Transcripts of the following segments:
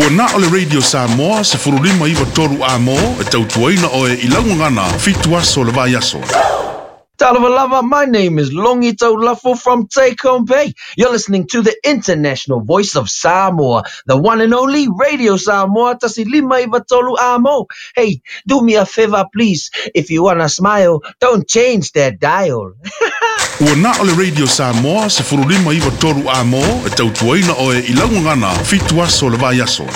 Ua na o le Radio Samoa 1593 Amo e tautuaina oe i laugagana 7 aso le vai aso. Talavalava, my name is Longi Taulafo from Take Home Bay. You're listening to the international voice of Samoa, the one and only Radio Samoa Tasi Lima Iva Tolu Amo. Hey, do me a favor, please. If you wanna smile, don't change that dial. Ua na o le Radio Samoa 1593 Amo e tautuaina oe i laugagana 7 aso le vai aso.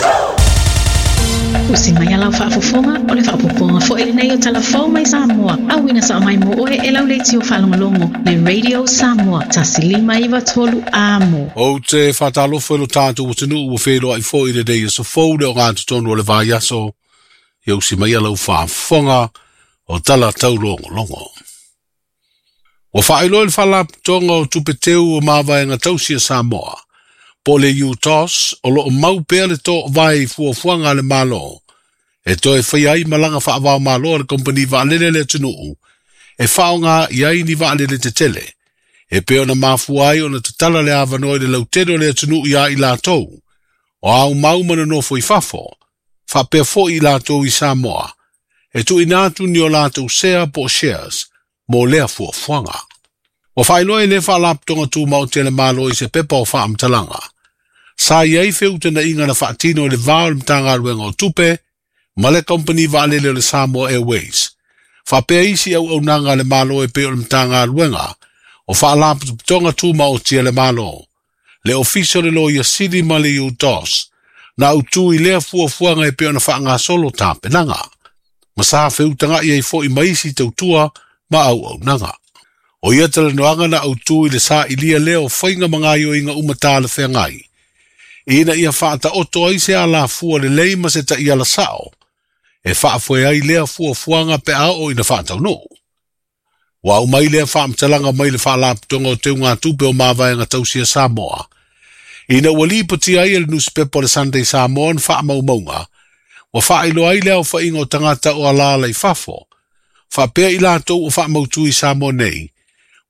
Usi mai a lau faafofoga, o le faaopoopoga foi lenei o Tala Fou mai Samoa, auina sao mai mo oe e lau leitio faalogologo le Radio Samoa 1593 Amo. Ou te faatalofa i lo tatou atunuu ua feiloai foi i lenei aso fou le ogatotonu o le vaiaso, ia usi mai a lau faafofoga o Tala Taulogologo. Ua faailoa e le Faalapotopotoga o Tupe Teu o Mavaega Tausi a Samoa, po o le UTOS, o lo o mau pea le toovae i fuafuaga a le Malo e toe faia ai malaga faava-o-Malo a le kamupani vaalele a le atunuu e faaaoga i ai ni vaalele tetele e pei ona mafua ai ona tatala le avanoa i le lautele o le atunuu iā i latou o aumau ma nonofo i fafo, faapea foi i latou i Samoa, e tuuina atu ni o latou sea po o shares mo lea fuafuaga. Ua faailoa e lea Faalapotopotoga Tumaoti a le Malo i se pepa o faamatalaga, sa i ai feutagaiga na faatino i le va o le Matagaluega o Tupe ma le Kamupani Vaalele o le Samoa Airways, faapea isi auaunaga a le Malo e pei o le Matagaluega o Faalapotopotoga Tumaoti a le Malo, le Ofisa o le Loia Sili ma le UTOS, na autu i lea fuafuaga e pei ona faagasolo tapenaga, ma sa feutagai ai foi ma isi tautua ma auaunaga. O ia talanoaga na autu i le sailia lea o faiga ma gaoioiga uma talafeagai, ina ia faataoto ai se alafua lelei ma se taiala sao e faafoe ai lea fuafuaga pe a oo ina faataunuu. Ua aumai lea faamatalaga mai le Faalapotopotoga o Teugatupe o Mavaega Tausi a Samoa, ina ua lipotia ai e le nusipepa o le Sunday Samoan faamaumauga, ua faailoa ai le aofaiga o tagata o alaala i fafo, faapea i latou o faamautu i Samoa nei,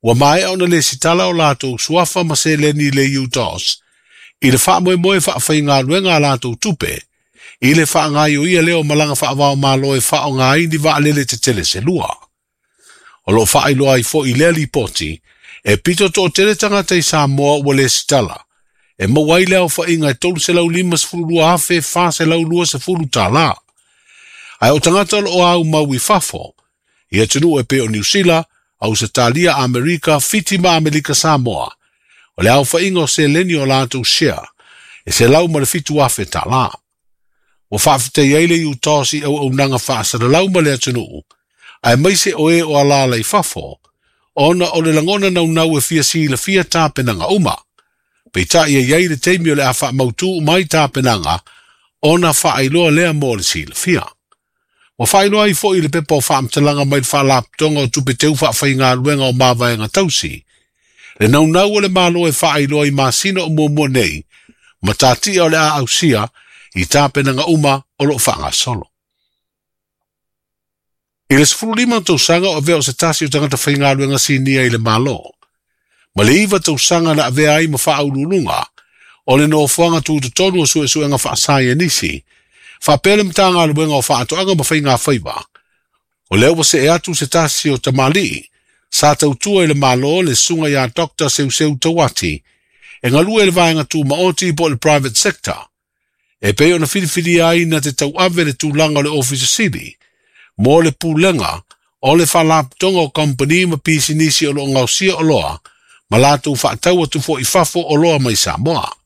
ua maea ona lesitala o latou suafa ma seleni i le UTOS i le faamoemoe faafaigaluega a latou tupe i le faagaoioia lea o malaga faava-o-Malo e faaaoga ai ni vaalele tetele se lua. O lo o faailoa ai foi i lea lipoti, e pito toatele tagata i Samoa ua lesitala, e maua ai le aofaiga e $352,420. Ae o tagata o lo o aumau i fafo, i atunuu e pei o Niu Sila, Ausetalia, Amerika, Fiti ma Amelika Samoa, o le aofaiga o seleni o latou share e $107,000. Ua faafetai ai le UTOS i auaunaga faasalalau ma le atunuu, aemaise o e o alaala i fafo, ona o le lagona naunau e fia silafia tapenaga uma. Peitai e i ai le taimi o le a faamautu uma ai tapenaga ona faailoa lea mo le silafia. Ua faailoa ai foi i le pepa o faamatalaga mai le Faalapotopotoga o Tupe Teu Faafaigaluega o Mavaega Tausi, le naunau o le Malo e faailoa i masina o muamua nei matatia o le a ausia i tapenaga uma o lo o faagasolo. I le 15 tausaga o avea o se tasi o tagata faigaluega sinia i le Malo, ma le 9 tausaga na avea ai ma faauluuluga o le nofoaga tutotonu o suesuega faasaienisi, faapea le Matagaluega o Faatoaga ma Faiga Faiva, o lea ua see atu se tasi o tamalii sa tautua i le Malo le susuga ia Doctor Seuseu Tauati e galue i le vaega tumaoti po o le private sector, e pei ona filifilia ai na te tauave le tulaga o le Ofisa Sili mo le pulega o le faalapotopotoga o kamupani ma pisinisi o lo o gaosia oloa ma latou faatau atu foi i fafo oloa mai Samoa.